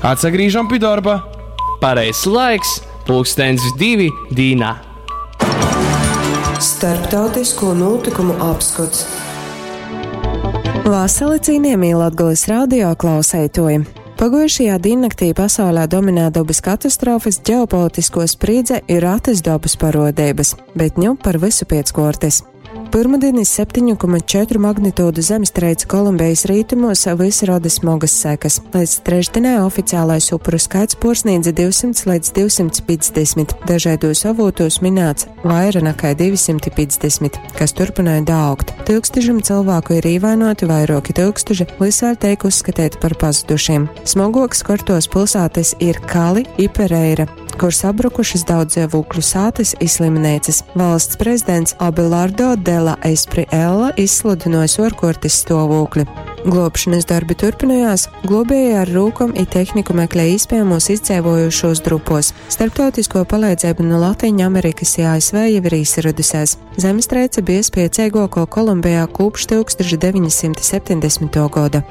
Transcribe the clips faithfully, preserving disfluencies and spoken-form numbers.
Atsagrīžam pi dorba. Pareizs laiks, pulkstens divi dīnā. Starptautisko notikumu apskots. Vasali cienījamie Latgales radio klausētoji! Paguojušajā diennaktī pasaulē dominē dabas katastrofas, ģeopolitisko sprīdze ir ratas dabas parodības, bet ņu par visu piec kortes. Pirmdienas septiņu komats četru magnitūdu zemestrīce Kolumbijas rietumos visi rada smagas sekas. Līdz trešdienai oficiālais upuru skaits porsniedza divsimt līdz divsimt piecdesmit. Dažādos avotos minēts vaira nekā divsimt piecdesmit, kas turpināja daaugt. Tūkstošiem cilvēku ir ievainoti, vairoki tūkstoši visvēl teik uzskatīti par pazudušiem. Smagoks kortos pilsētas ir Kali i Pereira, kur sabrukušas daudz dzīvokļu sātas i slimnīcas. Valsts prezidents Abelardo de la Espriella izsludinojis orkortis stāvokli. Glābšanas darbi turpinājās, globēji ar rūkom i tehniku meklē iespējamos izdzīvojušos drupos. Starptautisko palīdzību no Latīņu Amerikas i A S V jau ir izradusies. Zemestrīce bija spēcīgāko Kolumbijā kopš tūkstoš deviņsimt septiņdesmitā gada.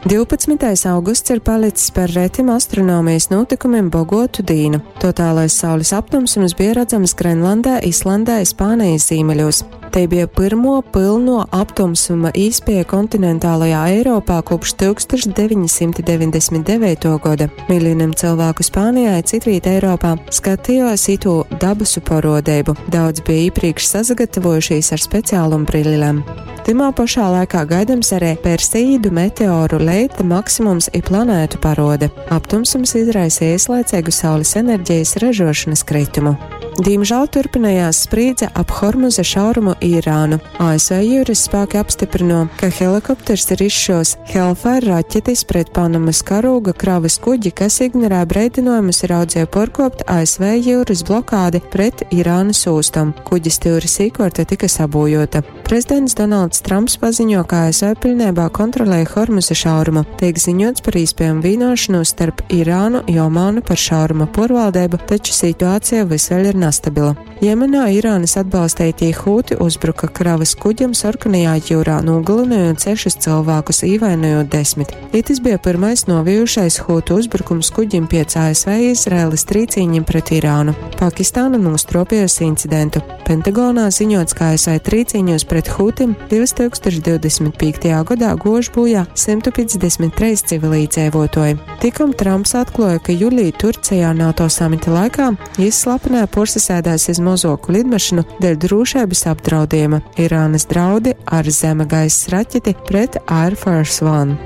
divpadsmitais augusts ir palicis par retim astronomijas notikumiem bogotu dīnu. Totālais saules aptumsums bija redzams Grenlandē, Islandē, Spānijas ziemeļos. Te bija pirmo pilno aptumsuma īspēja kontinentālajā Eiropā kopš tūkstoš deviņsimt deviņdesmit devīto gada. Miljoniem cilvēku Spānijā i citvīt Eiropā skatījās itu dabasu parodību. Daudz bija iepriekš sasagatavojušies ar speciālum brillēm. Timā pašā laikā gaidams arī Perseīdu meteoru leita maksimums i planētu parode. Aptumsums izraisīja ieslaicīgu saules enerģijas ražošanas kritumu. Diemžēl turpinājās sprīdze ap Hormuza šaurumu Irānu. A S V jūras spēki apstiprino, ka helikopters ir izšos Hellfire raķetes pret Panamas karūga kravas kuģi, kas ignorē breidinājumus ir audzēja porkopt A S V jūras blokādi pret Irānas ūstam. Kuģis stūris īkorte tika sabojota. Prezidents Donalds Trumps paziņo, ka A S V pilnībā kontrolēja Hormuza šaurumu. Tiek ziņots par iespējamu vienošanos starp Irānu i Omānu par šauruma porvaldību, taču situācija vis vēl ir nestabila. Jemenā Irānas atbalstītie Hūti uzbruka kravas kuģim Sarkanajā jūrā, nogalinājot sešus cilvēkus, ievainojot desmit. Itis bija pirmais novijušais Hūtu uzbrukums kuģim pēc A S V Izraēlas trīcīņiem pret Irānu. Pakistāna nostropījusi incidentu. Pentagonā ziņots, ka A S V trīcīņos pret Hūtim divtūkstoš divdesmit piektajā gadā gož bojā simt piecdesmit trīs civilīdzēvotoji. Tikom Trumps atklāja, ka jūlijā Turcijā NATO samita laikā jis slepenē porsasēdās iz mozoku lidmašīnu dēļ drošības apdraudējuma. Irānas draudi ar zeme gaisa raķeti pret Air Force One.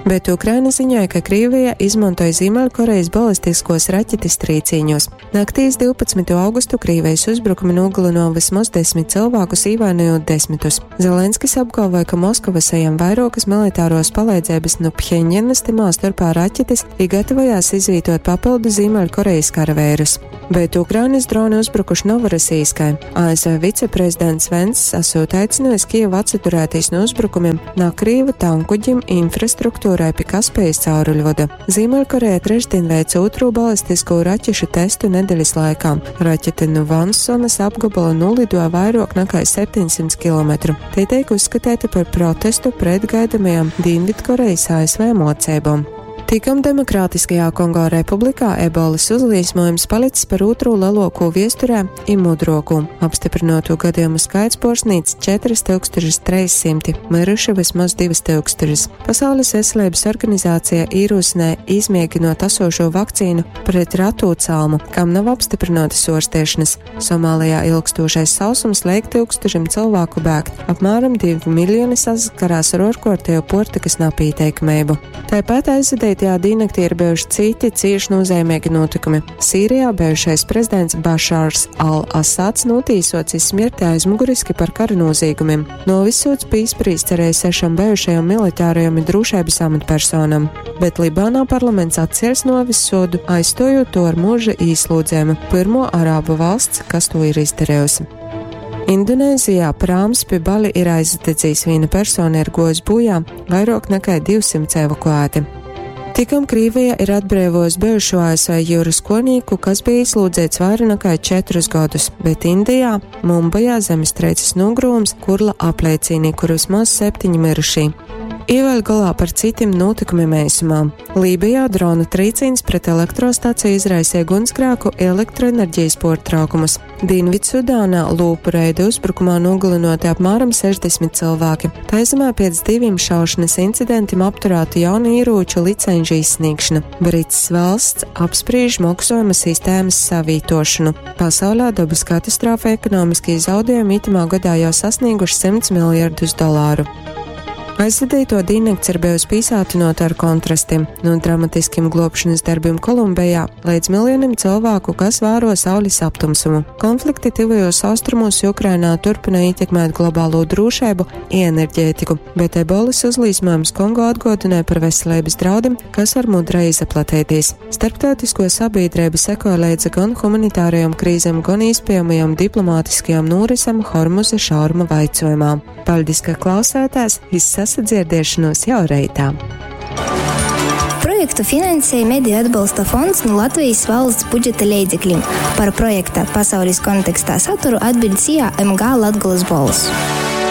Bet Ukraina ziņoja, ka Krievija izmantoja Ziemeļkorejas balistiskos raķetes trīcīņos. Naktīs divpadsmito augustu Krievijas uzbrukumi nogalino vismaz desmit cilvēkus, ievainojot desmitus. Zelenskis apgalvoja, ka Moskava saņem vairokas militāros palīdzības no Pheņģenas, timā starpā raķetes, i gatavojās izvietot papildu Ziemeļkorejas karavērus. Bet Ukrainas droni uzbrukuši Novorosijskai. A S V viceprezidents Venss esot aicinājis Kijevu atsaturēties no uzbrukumiem no Krievu tankuģim infrastruktūrai pie Kaspijas cauruļvada. Ziemeļkoreja trešdien veica otro balistisko raķešu testu nedēļas laikā. Raķete no Vansonas apgabala nolidoja vairāk nekā septiņsimt kilometru. Tie tiek uzskatīti par protestu pret gaidamajām Dienvidkorejas A S V mocībām. Tikam Demokrātiskajā Kongo Republikā ebolas uzliesmojums palicis par otro lielāko viesturē i mudroku. Apstiprinoto gadījumu skaits porsnīts četras tūkstošas trīssimti, miruši vismaz divas tūkstošas. Pasaules veselības organizācija ierosināja izmēģinot esošo vakcīnu pret ratu calmu, kam nav apstiprinātas ārstēšanas. Somālijā ilgstošais sausums liek tūkstošiem cilvēku bēgt. Apmēram divi miljoni saskarās ar orkortēju portikas napīteikamību. Tāpat aizvadītajā diennaktī ir bijuši citi cieši nozīmīgi notikumi. Sīrijā bijušais prezidents Bašārs al-Asads notīsots iz smirti aizmuguriski par kara noziegumiem. Novisots bija izprīsts arī sešam bijušajam militārajam un drošības amatpersonam, bet Libānā parlaments atcēls novisodu, aizstojot to ar mūža īslūdzējumu, pirmo arābu valsts, kas to ir izdarījusi. Indonēzijā prāms pie Bali ir aizdedzījis, viena persona ir gojis bojā, vairāk nekā divsimt evakuēti. Tikam Krievija ir atbrīvojusi bijušo A S V jūras konīku, kas bija ieslodzīts vairāk nekā četrus gadus, bet Indijā, Mumbajā zemestrīces nogrūms Kurla apliecīnī, kur vismaz septiņi mirušī. I vēļ golā par citim nūtykumim eisumā. Lībijā drona trīcīns pret elektrostaciju izraisīja gunsgrēku i elektroenerģijas puortraukumus. Dīnvidsudānā lūpu reida uzbrukumā nogalināti apmēram sešdesmit cilvēki. Taizemē pēc diviem šaušanas incidentiem apturēta jaunu ieroču licenžu izsniegšana. Brits valsts apspriež maksājuma sistēmas savītošanu. Pasaulē dabas katastrofa ekonomiskie zaudējumi itamā gadā jau sasnieguši simts miljardus dolāru. Aizvadīto diennakts ir bijusi pīsātinota ar kontrastiem, no dramatiskiem glābšanas darbiem Kolumbijā līdz miljoniem cilvēku, kas vēro saules aptumsumu. Konflikti tuvajos austrumos Ukrainā turpina ietekmēt globālo drošību i enerģētiku, bet ebolas uzlīsmojums Kongo atgādināja par veselības draudiem, kas var mudrai izplatīties. Starptautisko sabiedrību sekoja līdzi gan humanitārajām krīzēm, gan iespējamajām diplomātiskajām norisēm Hormuza šauruma vaicojumā. Paldies, ka klausātās! Sasadzirdēšanos jau reitā. Projektu finansēja Mediju atbalsta fonds no Latvijas valsts budžeta leidzekļiem. Par projekta pasaules kontekstā saturu atbild S I A M G Latgales balss.